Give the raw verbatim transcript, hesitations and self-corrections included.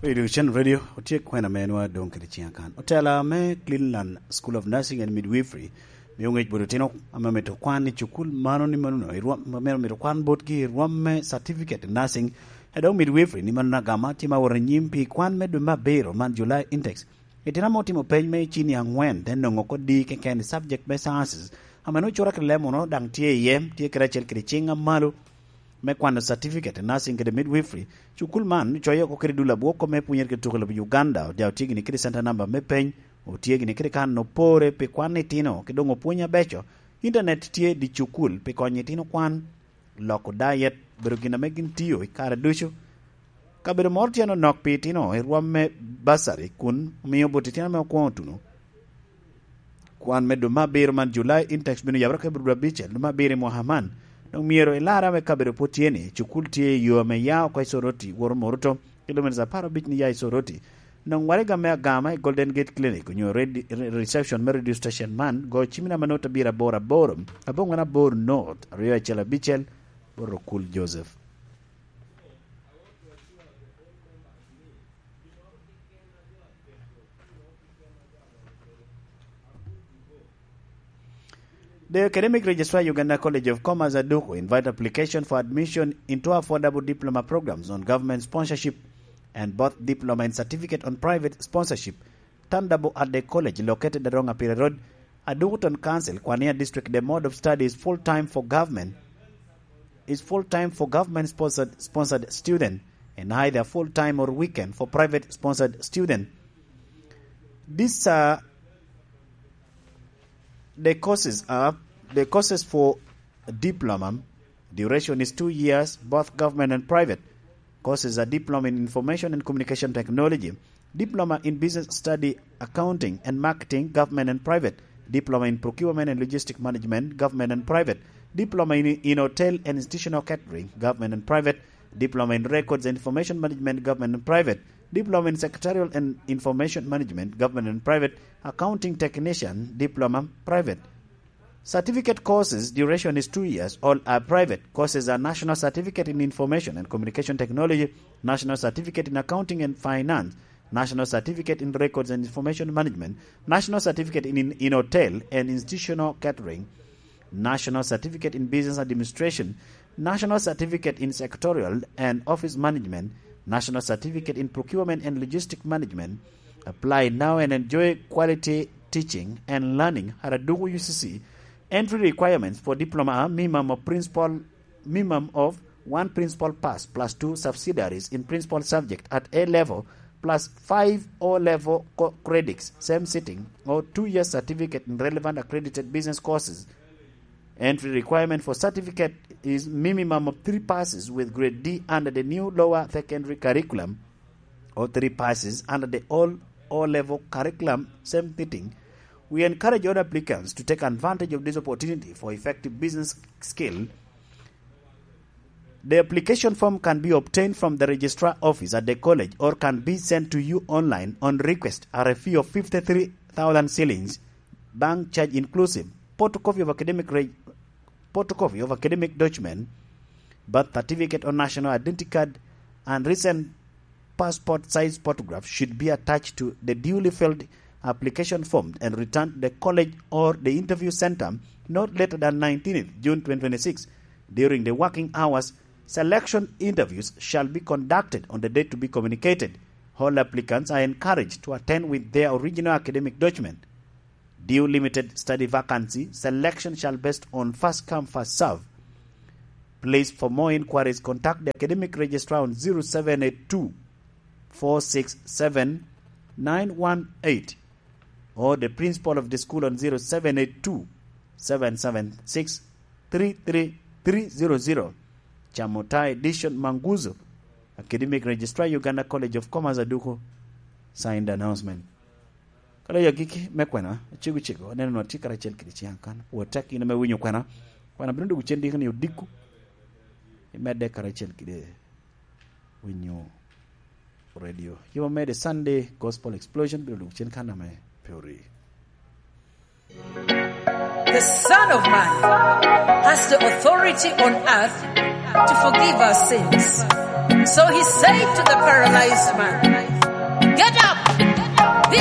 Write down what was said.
Radio Chan Radio, otye kwena me nwa dong kede ciŋ akan. Otela me Cleveland School of Nursing and Midwifery mio ŋec bot otino ame mito kwan i cukul mano ni mano no, i rwom, ame mito kwan botgi i rwom me certificate in nursing, e dok midwifery ni mano na gama tye ma wot anyim pi kwan me dwe me abiro man July intakes. Itino ame otimo peny me cini aŋwen, te noŋo oko di keken i subject me sciences, ame nwoŋo cura kede lemono daŋ tye iye, tye kede acel kede ciŋ amalo me kwano certificate in nursing kede midwifery. Cukul man ocoyo oko kede dul abwoko me pwonyere kede tuko i lobo Uganda, ojao tye gini kede center number me peny, otye gini kede kan opore pi kwan itino, ki doŋ opwony abeco. Internet tye di cukul pi konyo itino kwan, loko diet, bedo gin ame gin tio i kare ducu. Kabedo moro tye anonok pi itino i rwom me bursary kun omio bot itino ame okwoŋo tuno. Kwan me dwe me abiro man, July intakes, bino yabere ka bino dwe abicel dwe me abiro i mwaka man. Dok myero ilarre ame kabedo pwod tye ni, cukul tye i yo ame ya oko i Soroti, woto Moruto, kilomitas apar abic ni ya i Soroti. Nong waraga me agama i Golden Gate Clinic onyo red-, re-, reception me radio station man, go cimina manut abiro aboro aboro, abongwen aboro North, aryo acel abicel, Borokul Joseph. The Academic Registrar, Uganda College of Commerce, Aduku, invite application for admission into affordable diploma programs on government sponsorship and both diploma and certificate on private sponsorship, Tandabo at the college located at Rong Apire Road, Aduku Town Council, Kwania District. The mode of study is full-time for government, is full-time for government sponsored, sponsored student, and either full-time or weekend for private sponsored student. These are the courses are the courses for diploma. Duration is two years, both government and private. Courses are diploma in information and communication technology, diploma in business study, accounting and marketing, government and private, diploma in procurement and logistic management, government and private, diploma in, in hotel and institutional catering, government and private, diploma in records and information management, government and private, diploma in secretarial and information management, government and private, accounting technician, diploma, private. Certificate courses, duration is two years, all are private. Courses are National Certificate in Information and Communication Technology, National Certificate in Accounting and Finance, National Certificate in Records and Information Management, National Certificate in, in, in Hotel and Institutional Catering, National Certificate in Business Administration, National Certificate in Secretarial and Office Management, National Certificate in Procurement and Logistic Management. Apply now and enjoy quality teaching and learning at Aduku U C C. Entry requirements for diploma are minimum of principal, minimum of one principal pass plus two subsidiaries in principal subject at A level plus five O level co-, credits, same sitting, or two-year certificate in relevant accredited business courses. Entry requirement for certificate is minimum of three passes with grade D under the new lower secondary curriculum or three passes under the old O-level curriculum, same thing. We encourage all applicants to take advantage of this opportunity for effective business skill. The application form can be obtained from the registrar office at the college or can be sent to you online on request at a fee of fifty-three thousand shillings, bank charge inclusive. Photocopy of academic re-, photocopy of academic document, birth certificate or national identity card, and recent passport size photograph should be attached to the duly filled application form and returned to the college or the interview center not later than nineteenth June twenty twenty-six during the working hours. Selection interviews shall be conducted on the date to be communicated. All applicants are encouraged to attend with their original academic document. Due limited study vacancy, selection shall based on first come, first serve. Please, for more inquiries, contact the academic registrar on zero seven eight two, four six seven, nine one eight or the principal of the school on zero seven eight two, seven seven six, three three three zero zero. Chamutai Dishon Manguzo, academic registrar, Uganda College of Commerce, Aduku, signed announcement. Kalo ya giki me kwena, cego cego, aneno na tye karacel kede ciang kan. Pwod tek in ame winyo kwena. Kwena bino dwogo cen diki ni odiko. Imedde karacel kede winyo radio. Yuma mede Sunday Gospel Explosion bino dwogo cen kan ame pe ori. The Son of Man has the authority on earth to forgive our sins. So he said to the paralyzed man,